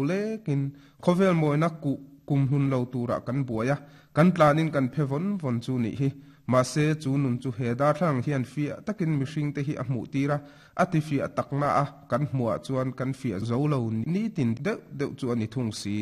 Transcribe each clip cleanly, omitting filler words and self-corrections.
lekin khawvel mawina kuh kumhlun lo turah kan buai a, kan tlanin kan phe vawn vawn chu nih hi. Mahse, chu nun chu he darthlalang hian fiah takin mihringte hi a hmuh tir a, a ti fiah takna a kan hmuhah chuan kan fiah zo lo nitin deuh deuh chu a ni thung si.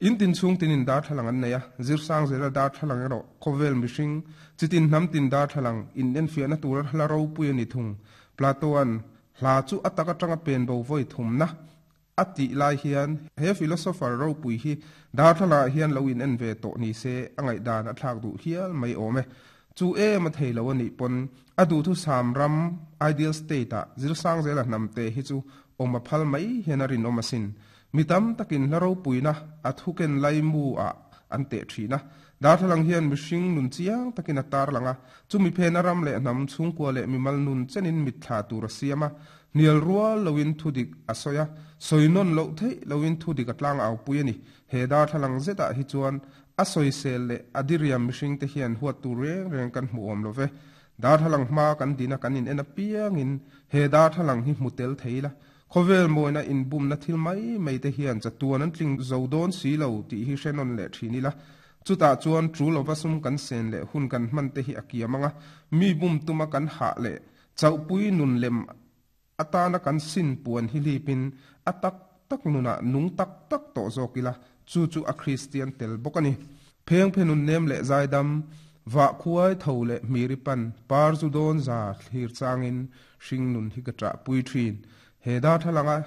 In tin chhung tinin darthlalang an nei a, zirsang zela darthlalang erawh khawvel mihring, chitin hnam tin darthlalang inenfiahna tura hla ropui a ni thung. Plato-a'n hla chu a tak atanga pen bo vawi thumna a tih lai hian he philosopher ropui hi darthlalang ah hian lo in en ve tawh ni se a ngaihdan a thlak duh hial mai awm e. Chu em a thei lo a nih pawn a duhthusam ram, ideal state, ah zirsang zela hnamte hi chu awm a phal mai hian a rinawm asin. Mi tam takin hla ropuina a thuken laimu ah an teh thin a. Darthlalang hian mihring nun chiang takin a tarlang a, chumi phena ram leh hnam chhungkua leh mimal nun chenin mitthla tur a siam a. Hnial rual loin thudik a sawi a, sawi nawn loh theih loin thudik a tlang au pui a ni. He darthlalang zetah hi chuan a sawisel leh a diriam mihringte hian huat tur reng reng kan hmu awm lo ve. Darthlalang hma kan dina kan in en apiangin he darthlalang hi hmu tel thei ila, Khawvel mawina inbumna thil mai mai te hian chatuan an tling zo dawn si lo tih hi hre nawn leh thin ila. Chutah chuan tul lova sum kan sen leh hun kan hman te hi a kiam ang a, mi bum tuma kan hah leh chauhpui nun lem atana kan sin puan hi hlipin a tak tak nunah nung tak tak tawh zawk ila, chu chu a Kristian tel bawk a ni. Phengphe nun nem leh zaidam, vah khuai tho leh hmiri pan, par zu dawn za thlir changin hring nun hi ka ṭahpui ṭhin. He darthlalanga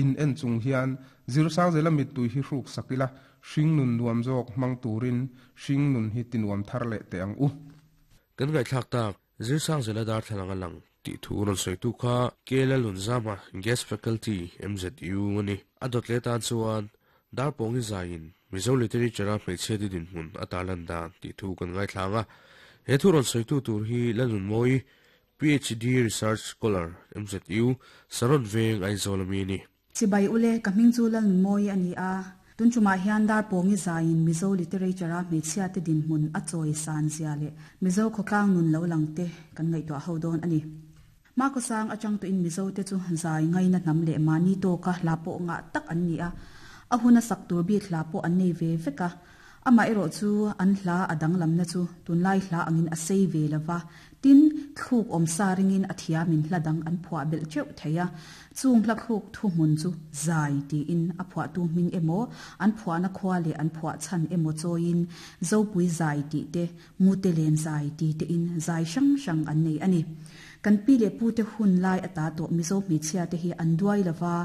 in en chung hian Zirsangzela mittui hi hruk sak ila, hring nun nuam zawk hmang turin hring nun hi tinuam thar leh teh ang u. Kan ngaihthlak tak, Zirsangzela darthlalanga lang tih thu rawn sawitu kha Kela Lunzama, Guest Faculty, MZU a ni. A dawt leh tan chuan Darpawngi zaiin Mizo Literature-a hmeichhiate dinhmun a tarlan dan tih thu kan ngaithlang a. He thu rawn sawitu tur hi Lalnunmawii, PhD Research Scholar, MZU, Saron Veng, Aizawl ami a ni. Chibai ule, ka hming chu Lalnunmawii a ni a. Tun tumah hian Darpawngi zaiin Mizo Literature-a hmeichhiate dinhmun a chawi san zia leh Mizo khawtlang nun lo lang te kan ngaihtuah ho dawn a ni. Hmakhawsang atang tawhin Mizo te chu zai ngaina hnam leh mahni tawka hla pawh ngah tak an ni a, a huna sak tur bik hla pawh an nei ve vek a. Amaherawh chu an hla a danglamna chu tunlai hla angin a sei ve lo va, tin, thluk awm sa ringin a thiamin hla dang an phuah belh teuh thei a. Chung hla thluk thuhmun chu zai tiin a phuahtu hming emaw, an phuahna khua leh an phuah chhan emaw chawiin Zopui zai tih te, Mute len zai ti tein zai hrang hrang an nei a ni. Kan pi leh pute hun lai ata tawh Mizo hmeichhia te hi an duai lova,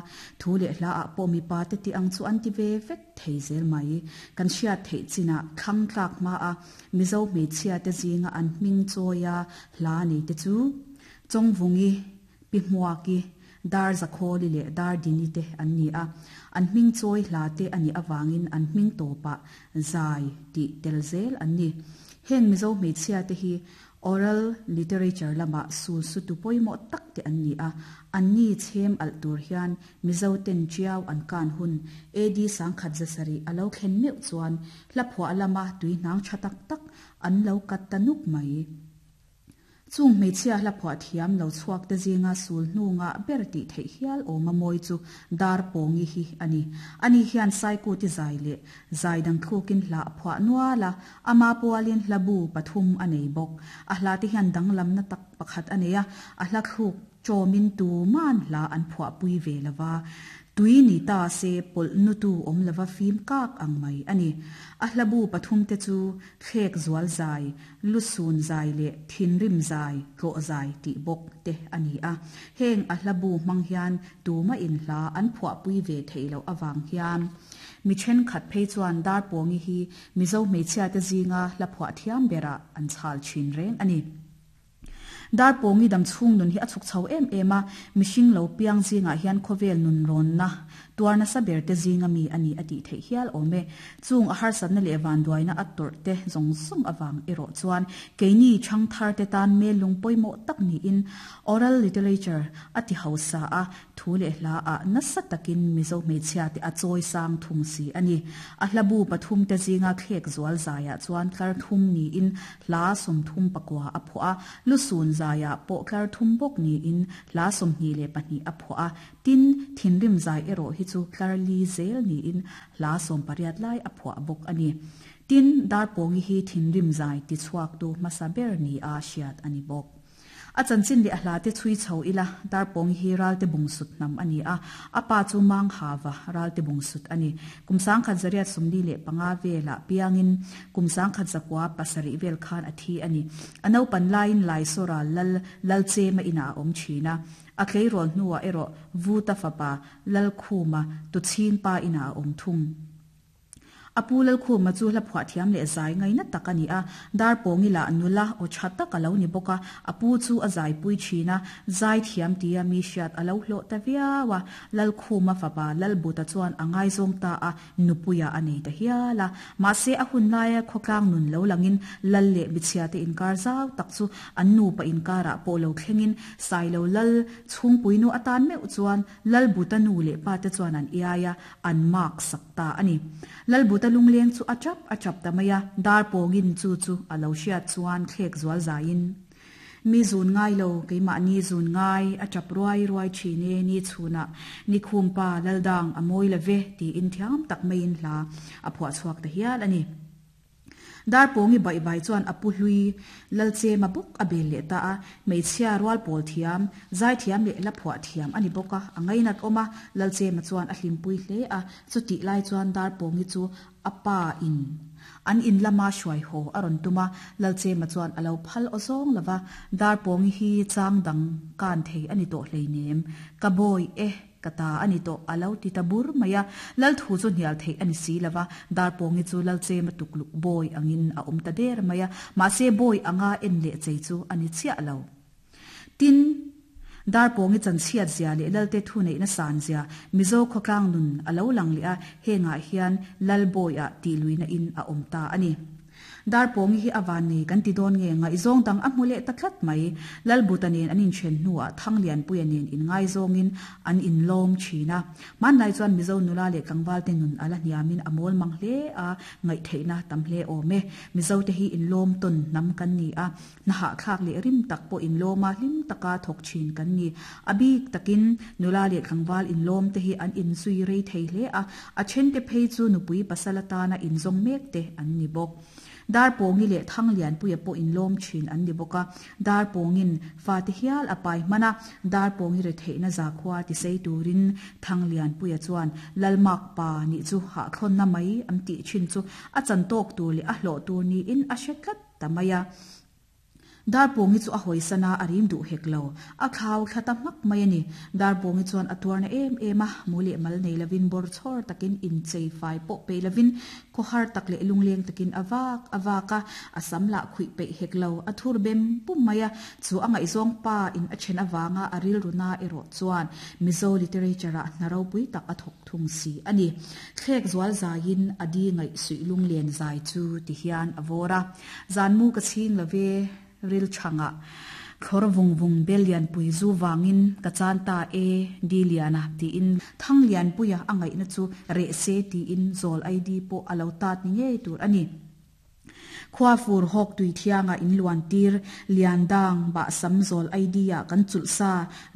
thu leh hla ah pawh mipa te tih ang chu an ti ve vek thei zel mai. Kan hriat theih chinah thlang tlak hma a Mizo hmeichhia te zinga an hming chawia hla nei te chu Chawngvungi, Pi Hmuaki, Dar Zakhawli leh Dar Dini te an ni a. An hming chawi hla te a nih avangin an hming tawpah zai tih tel zel an ni. Heng Mizo hmeichhia te hi oral literature lamah sul sutu pawimawh tak te an ni a. Anni chhem alh tur hian Mizo ten tiau an kan hun AD 1700 a lo thlen meuh chuan hla phuah lama tuihnang tha tak tak an lo kat ta nuk mai. Chung hmeichhia hla phuah thiam lo chhuak te zinga sul hnu ngah ber tih theih hial awm a mawi chu Darpawngi hi a ni. Ani hian Saikuti zai leh zai dang thlukin hla a phuah nual a, ama pualin hla bu pathum a nei bawk. A hla te hian danglamna tak pakhat a nei a, a hla thluk Chawmin tuman hla an phuahpui ve lo va, tui ni ta se pawlh nutu awm lova fim kak ang mai a ni. A hlabu pathumte chu thlek zual zai, lusun zai leh thinrim zai, tlawh zai tih bawk te a ni a. Heng a hlabu hmang hian tumahin hla an phuahpui ve theih loh avang hian mi thenkhat phei chuan Darpawngi hi Mizo hmeichhiate zinga hla phuah thiam berah an chhal thin reng a ni. Darpawngi dam chhung nun hi a chhuk chho em em a, mihring lo piang zingah hian khawvel nun rawnna tuar nasa ber te zinga mi a ni a tih theih hial awm e. Chung a harsatna leh vanduaina a tawrh te zawng zawng avang erawh chuan keini chhang thar te tan mel lung pawimawh tak niin oral literature a ti hausa a, Thu leh hla ah nasa takin Mizo hmeichhia te a chawi sang thung si a ni. A hla bu pathum te zinga thlek zual zaiah chuan tlar thum niin hla 34 a phuah a, lusun zaiah pawh tlar thum bawk niin hla 22 a phuah a. Tin, thinrim zai erawh hi chu tlar li zel niin hla 18 lai a phuah bawk a ni. Tin, Darpawngi hi thinrim zai tichhuaktu hmasa ber nia hriat a ni bawk. A chanchin leh a hlate chhui chho ila, Darpawngi hi Ralte Bungsut hnam a ni a, a pa chu Manghava Ralte Bungsut a ni. Kum 1945 velah piangin kum 1907 vel khan a thi a ni. A naupan laiin Laisawra lal Lalchema inah a awm thin a. A tleirawl hnuah erawh Vuta fapa Lalkhuma Tuchhingpa inah a awm thung. A pu Lalkhuma chu hla phuah thiam leh zai ngaina tak a ni a, Darpawngi lah nula aw tha tak a lo ni bawk a, a pu chu a zaipui thin a, zai thiam tia mi hriat a lo hlawh ta viau a, Lalkhuma fapa Lalbuta chuan a ngaizawng ta a, nupuia a nei ta hial a. Mahse a hun laia khawtlang nun lo langin Lal leh michhiate inkar zau tak chu an nupa inkarah pawh lo thlengin Sailo Lal chhungpuinu atan meuh chuan Lalbuta nu leh pate chuan an iai a, an mark sak ta a ni. Lalbuta lungleng chu a chap a chap ta mai a, dar pawngin chu chu a lo hriat chuan thlek zual zaiin, Mi zun ngai lo, keimahni zun ngai, a chap ruai ruai thin e, ni chhunah ni khumpa Laldang a mawi la ve, tiin thiam tak maiin hla a phuah chhuak ta hial a ni. Darpawngi baihvai chuan a pu hlui Lalchema bawk a bel leh ta a, hmeichhia rual pawl thiam, zaithiam leh la phuah thiam a ni bawk a, a ngainat awm a, Lalchema chuan a hlimpui hle a, chutih lai chuan Darpawngi chu a pa in an in lama hruai haw a rawn tum a, Lalchema chuan a lo phal aw zawng lo va, Darpawngi hi chang dang kan thei a ni tawh hleinem, ka bawi e. Ka ta a ni tawh, a lo ti ta bur mai a. Lal thu chu hnial theih a ni si lo va, Darpawngi chu Lalchema tukluk bawi angin a awm ta der mai a, mahse bawi anga en leh chei chu a ni chiah lo. Tin, Darpawngi chanchhiat zia leh Lalte thu neihna san zia Mizo khawtlang nun a lo lang leh a, hengah hian Lal bawiah tih luihna in a awm ta a ni. Darpawngi hi a van nei kan ti dawn nge ngaihzawng dang a hmu leh ta tlat mai. Lalbuta nen an inthen hnuah Thanglianpuia nen inngaizawngin an inlawm thin a. Hmanlai chuan Mizo nula leh tlangvalte nun a la hniamin a mawl mang hle a, ngaihtheihna tam hle awm e. Mizote hi inlawm tawn hnam kan ni a, hnahahthlak leh rim tak pawh inlawma hlim taka thawk thin kan ni. A bik takin nula leh tlangval inlawm te hi an inzui rei thei hle a, a thente phei chu nupui pasal atana inzawng mek te an ni bawk. Darpawngi leh Thanglianpuia pawh inlawm thin an ni bawk a, Darpawngin fate hial a pai hman a, Darpawngi retheihna zakhua tisei turin Thanglianpuia chuan Lalmak pa nih chu hahthlawnna mai an tih thin chu a chan tawk tur leh a hlawh tur niin a hre tlat ta mai a. Darpawngi chu a hawisan a, a rim duh hek lo. A thlau thla ta hmak mai a ni. Darpawngi chuan a tuarna em em a, mu leh mal nei lovin bawr chhawr takin inchei fai pawh peih lovin khawhar tak leh lungleng takin a vak a vak a, a sam lah khuih peih hek lo, a thur bem pum mai a. Chu a ngaihzawng pa in a then avanga a rilru na erawh chuan Mizo literature ah hna ropui tak a thawk thung si a ni. Thlek zual zaiin a di ngaih suih lunglen zai chu ti hian a vawr a. Zan mu ka chhing lo ve ril chhangah thlawr vung vung bel lianpui zu vangin ka chan ta e di liana tiin thang lianpuia a ngaihna chu reh se tiin zawl ID pawh a lo tat ni ngei tur a ni. Khua fur hawk tui thianga in luan tir lian dang bah sam zawl ID ah kan chulh sa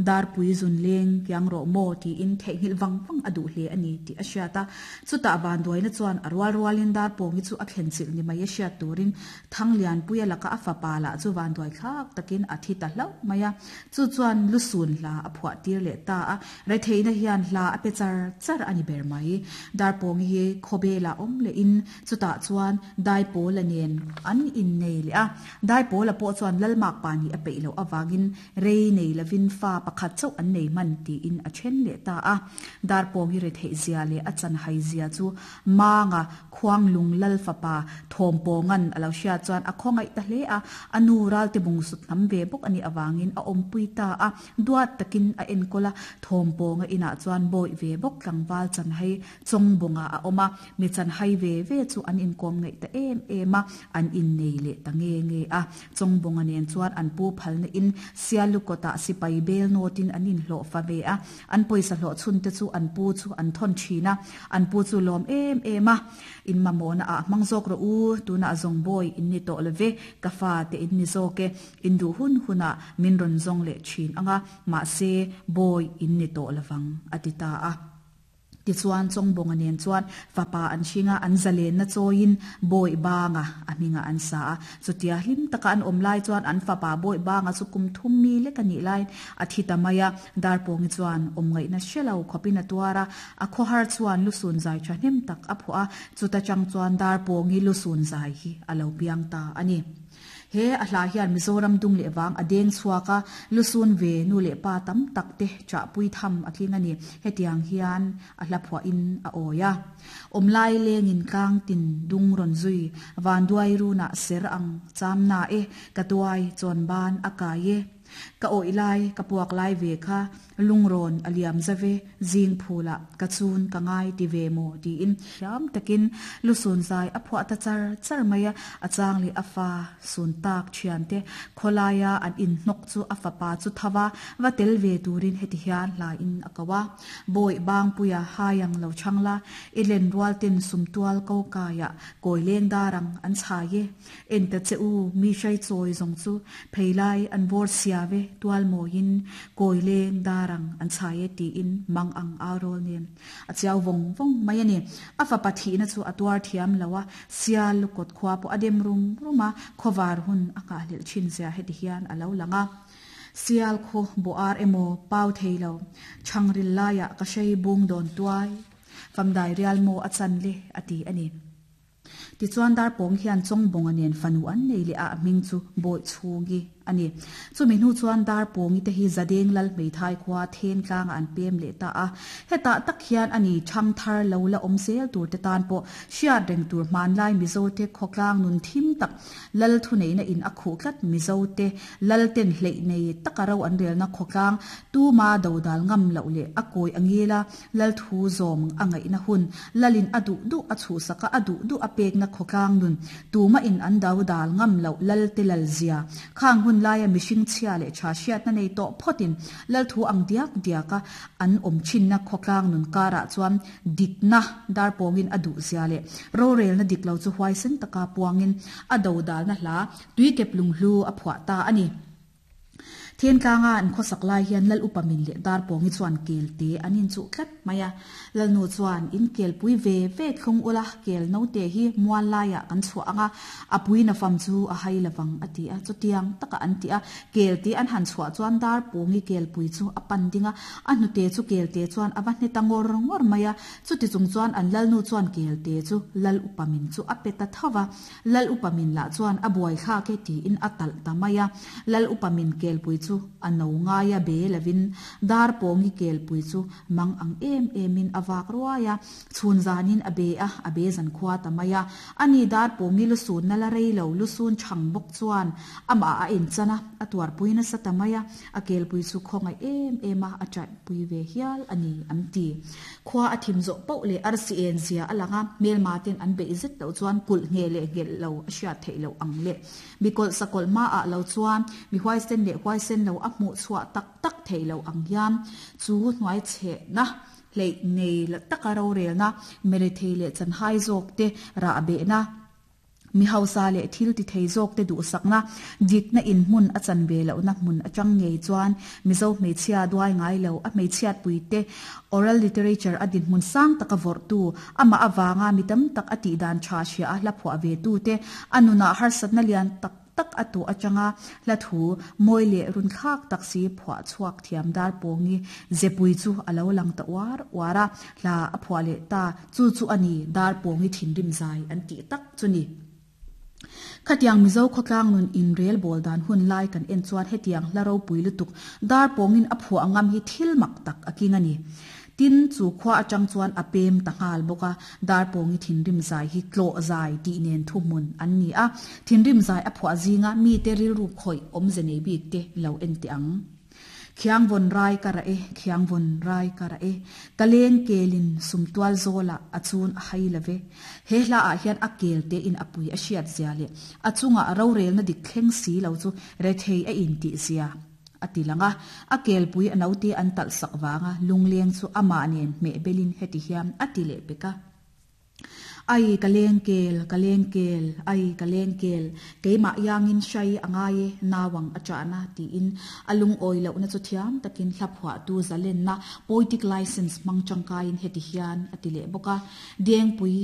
Darpui zun leng kiang rawh maw tiin theihnghilh vang vang a duh hle a ni tih a hriat a. Chutah vanduaina chuan a rual rualin Darpawngi chu a thlen chilh ni mai a hriat turin Thanglianpuia laka a fapa lah chu vanduai thlak takin a thi ta hlauh mai a. Chu chuan lusun hla a phuah tir leh ta a. Retheihna hian hla a pe char char a ni ber mai. Darpawngi hi khawbelah awm lehin chutah chuan Daipawla nen an innei leh a. Daipawla pawh chuan Lalmakpa nih a peih loh avangin Rei nei lovin fa pakhat chauh an nei hman tiin a then leh ta a. Darpawngi retheih zia leh a chanhai zia chu Manga Khuanglung Lal fapa Thawmpawnga'n a lo hriat chuan a khawngaih ta hle a, a nu Ralte bung sut hnam ve bawk a nih avangin a awmpui ta a, duat takin a enkawl a, Thawmpawnga inah chuan bawih ve bawk tlangval chanhai Chawngbawngah a awm a, mi chanhai ve ve chu an inkawm ngaih ta em em a, an innei leh ta nge nge a. Chawngbawngah nen chuan an pu phalna in Sialukawtah sipai bel nawtin an inhlawh fa ve a, an pawisa hlawh chhun te chu an pu chu an thawn thin a, an pu chu lawm em em a, In mamawhna ah hmang zawk rawh u, tunah zawng bawi in ni tawh lo ve, ka fa te in ni zawk e, in duh hun hunah min rawn zawng leh thin ang a, mahse bawi in ni tawh lovang, a ti ta a. Tichuan Chawngbawnga nen chuan fapa an hring a, an zalenna chawiin Bawihbanga a hmingah an sa a. Chutia hlim taka an awm lai chuan an fapa Bawihbanga chu kum thum mi lek a nih laiin a thi ta mai a. Darpawngi chuan awmngaihna hre lo khawpin a tuar a, a khawhar chuan lusun zai thahnem tak a phuah a, chuta chang chuan Darpawngi lusun zai hi a lo piang ta a ni. He a hla hian Mizoram dung leh vang a deng chhuak a, lusun ve nu leh pa tam tak te chahpui tham a tling a ni. Hetiang hian a hla phuahin a awi a. Awmlai lengin tlang tin dung rawn zui, vanduai runah ser ang cham na e, ka tuai chawn ban a kai e. Ka awih lai, ka puak lai ve kha, Lungrawn a liam zave, zing phulah ka chun ka ngai ti ve maw tiin thiam takin lusun zai a phuah ta char char mai a, a chang leh a fa sun tak thiante khawlaia an inhnawk chu a fapa chu tho va, va tel ve turin heti hian hlain a ko a. Bawih Bangpuia hai ang lo chhang la, i len rual ten sumtual ko kaiah kawi leng dar ang an chhai e. En ta che u, mi hrai chawi zawng chu pheilai an vawr sia ve tual mawiin kawi leng dar ang an chhai e tiin mang ang au rawl nen a chiau vawng vawng mai a ni. A fapa thihna chu a tuar thiam lo a, sial lukawt khua pawh a dem rum rum a, khawvar hun a nghahhlelh thin zia heti hian a lo lang a. Sial khaw bawh ar emaw pau thei lo, chhangril laiah ka hrei bung dawn tuai, famdai rial maw a chan le a ti a ni. Tichuan Darpawng hian Chawngbawnga nen fanu an nei leh a, a hming chu Bawichhungi a ni. Chumi hnu chuan Darpawngi te hi Zadeng Lal Hmeithai khua Thengtlangah an pem leh ta a. Hetah tak hian a ni thangthar lo la awm zel tur te tan pawh hriat reng tur hmanlai Mizote khawtlang nun thim tak Lal thuneihna in a khuh tlat Mizote Lal ten hleih nei taka ro an relna khawtlang tuma dodal ngam loh leh a kawi a ngil a, Lal thu zawm a ngaihna hun, Lalin a duh duh a chhuhsak a, a duh duh a pekna khawtlang nun, tuma in an do dal ngam loh Lal te lal zia. Khang hun laia mihring chhia leh tha hriatna nei tawh phawtin Lal thu ang diak diak a an awm thinna khawtlang nun karah chuan dikna darpawngin a duh zia leh rorelna dik lo chu huaisen taka puangin a do dalna hla tuikep lunghlu a phuah ta a ni. Thentlanga an khawsak lai hian Lal Upa Min leh Darpawngi chuan kel te an inchuh tlat mai a. Lalnu chuan, In kel pui ve ve thlung ula, kel note hi mual laiah kan chhuah ang a, a pui na fam chu a hai lovang a ti a. Chutiang taka an ti a, kel te an han chhuah chuan Darpawngi kel pui chu a pan ding a, a hnute chu kel te chuan a va hne ta ngawr ngawr mai a. Chuti chung chuan an Lalnu chuan kel te chu Lal Upa Min chu a pe ta tho va. Lal upa min lah chuan a buai thlak e tiin a talh ta mai a. Lal upa min kelpui chu a no ngai a be lovin Darpawngi kelpui chu mang ang em emin a vak ruai a. Chhun zanin a be a, a be zan khua ta mai a. Ani Darpawngi lusunna la rei lo lusun chhang bawk chuan amah a inchan a, a tuarpui nasa ta mai a. A kelpui chu khawngaih em em a, a chaihpui ve hial a ni an ti. Khua a thim zawh pauh leh arsi en zia a lang a, hmelma ten an beih zet loh chuan kulh ngheh leh nghelh lo a hriat theih loh ang le. Mi kawlh sakawlh hmaah lo chuan mi huaisen leh huaisen lo a hmuh chhuah tak tak theih loh ang hian chu hnuai chhehna hleih nei taka rorelna, merethei leh chanhai zawk te rah behna, Mi hausa leh thil ti thei zawk te duhsakna, dikna in hmun a chan ve lohna hmun atang ngei chuan Mizo hmeichhia duai ngai lo, a hmeichhiatpui te oral literature a dinhmun sang taka vawrhtu, amah avanga mi tam tak a tihdan tha hria a hla phuah ve tu te, a nunah harsatna lian tak tak a tuah atanga hla thu mawi leh runthlak tak si phuah chhuak thiam Darpawngi zepui chu a lo lang ta uar uar a, hla a phuah leh ta. Chu chu a ni, Darpawngi thinrim zai an tih tak chu ni. Khatiang Mizo khawtlang nun inrel bawl dan hun lai kan en chuan hetiang hla ropui lutuk Darpawngin a phuah ngam hi thil mak tak a king a ni. Tin, chu khua atang chuan a pem ta nghal bawk a, Darpawngi thinrim zai hi tlawh zai tih nen thuhmun an ni a, thinrim zai a phuah zinga mite rilru khawih awmze nei bik te lo en teh ang. Khiang vawn rai ka rah e, khiang vawn rai ka rah e, Ka leng kelin sumtual zawlah a chun a hai lo ve. He hla ah hian a kel te in a pui a hriat zia leh a chungah rorelna dik thleng si lo chu rethei a in tih zia a ti lang a. A kelpui a naute an talh sak vanga lungleng chu amah nen hmeh belin heti hian a ti leh pek a. Ai ka leng kel, ka leng kel, ai ka leng kel, keimah iangin hrai a ngai e, nauang a chahna tiin a lungawi lohna chu thiam takin hla phuahtu zalenna, poetic license, hmang tangkaiin heti hian a ti leh bawk a. Dengpui.